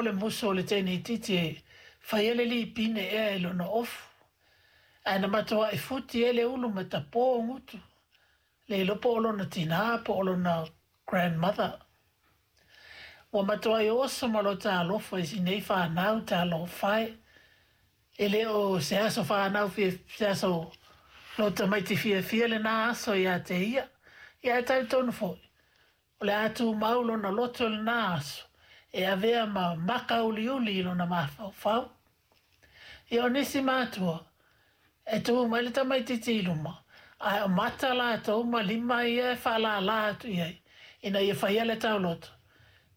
Le musu o le teine itiiti e faia le lipine ea i lona ofu, ae na matuai futi ai le ulu ma tapō gutu, le iloa po o lona tinā po o lona grandmother. Ua matuai oso ma lota alofa i nei whānau talofa e. E le o se aso whānau fia, se aso lo tamaiti fiafia lena aso ia te ia. Ia e talitonu foi. O le a tumau lona loto i lena aso, e avea ma maka uliuli i lona mafaufau. Ia o nisi matua, e tu mai le tamaitiiti i luma, ae o mata latou ma lima ia e faalālā atu i ai, ina ia faia le tauloto,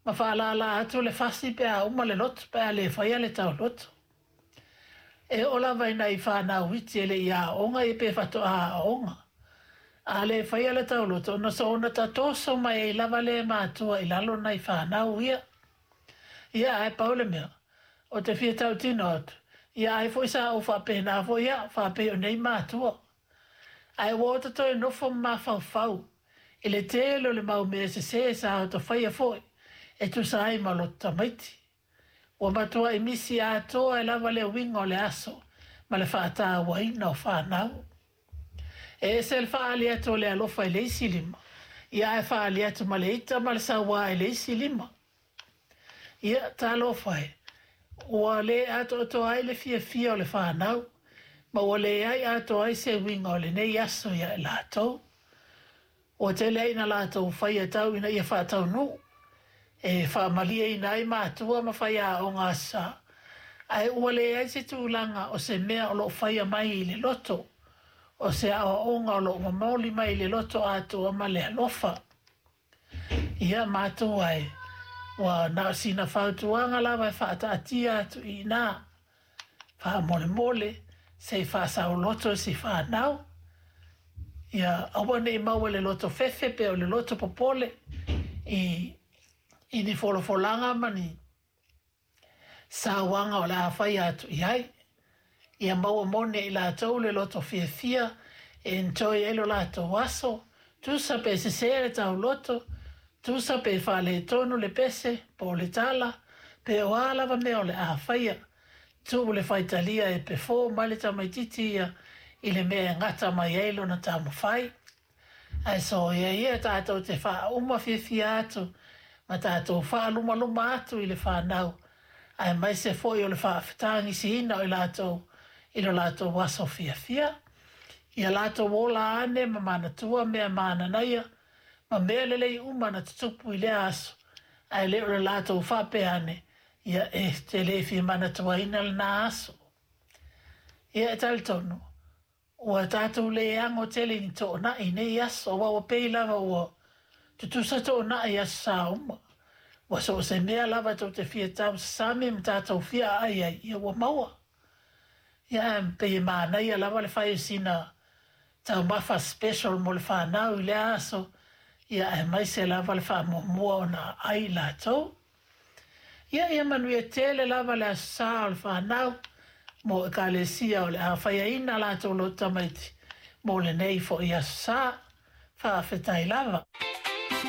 ma faalālā atu le fasi pe a uma le loto pe a le faia le tauloto. E oo lava i nai fanau iti e le i aoga ia pe faatoa aoga. A le faia le tauloto, ona soona tatoso mai ai lava lea e matua i lalo nai fanau ia. Ia ae pau le mea, ou te fia tautino atu, ia ai foi sa ou faapena foi au, faapei o nei matua. Ae ua ota toe nofo ma mafaufau i le tele o le mau mea sesē sa ota faia foi e tusa ai ma loto tamaiti. Ua matuai misi atoa ai lava le uiga o le aso ma le faatauaina o fanau. E ese le faaali atu o le alofa i le isi lima, ia ae faaali atu ma le ita ma le sauā i le isi lima. Ia, talofa e, ua le atoatoa ai le fiafia o le fanau, ma ua leai atoa ai se uiga o lenei aso ia i latou. Ua tele ai ina latou faia tau ina ia faataunuu, e faamalieina ai matua ma faiaoga Aso Sa, ae ua leai se tulaga o se mea o lo o faia mai i le loto, o se aoaoga o lo o momoli mai i le loto atoa ma le alofa. Ia, matua e, ua na o sina fautuaga lava e faataatia atu i ina, faamolemole, se i faasaoloto si fanau. Ia aua ne i maua i le loto fefe pe o le loto popole i i ni folafolaga ma ni sauaga o le a faia atu i ai. Ia maua moni e i latou le loto fiafia e enjoy ai lo latou aso, tusa pe sesē le tauloto, tusa pe faaletonu le pese po o le tala, pe o a lava mea o le a faia. Tuu le faitalia e perform ai le tamaitiiti ia i le mea e gata mai ai lona taumafai. Ae soia ia tatou te faauma fiafia atu ma tatou faalumaluma atu i le fanau, aemaise foi o le faafetagisiina o i latou i lo latou aso fiafia. Ia latou ola ane ma manatua mea mananaia ma mea lelei uma na tutupu i lea aso, ae le o le latou faapea ane, ia e te le fia manatuaina lena aso. Ia e talitonu, ua tatou le ago tele i ni toonai i nei aso, aua ua pei lava ua tutusa toonai i Aso Sa uma. Ua so o se mea lava tou te fia tausasami ma tatou fia aai ai, ia ua maua. Ia ae pei e manaia lava le fai o sina taumafa special mo le fanau i lea aso, ia aemaise lava le faamuamua ona aai i latou. Ia, ia manuia tele lava le Aso Sa o le fanau mo Ekalesia o le a faiaina latou loto tamaiti mo lenei foi Aso Sa. Faafetai lava.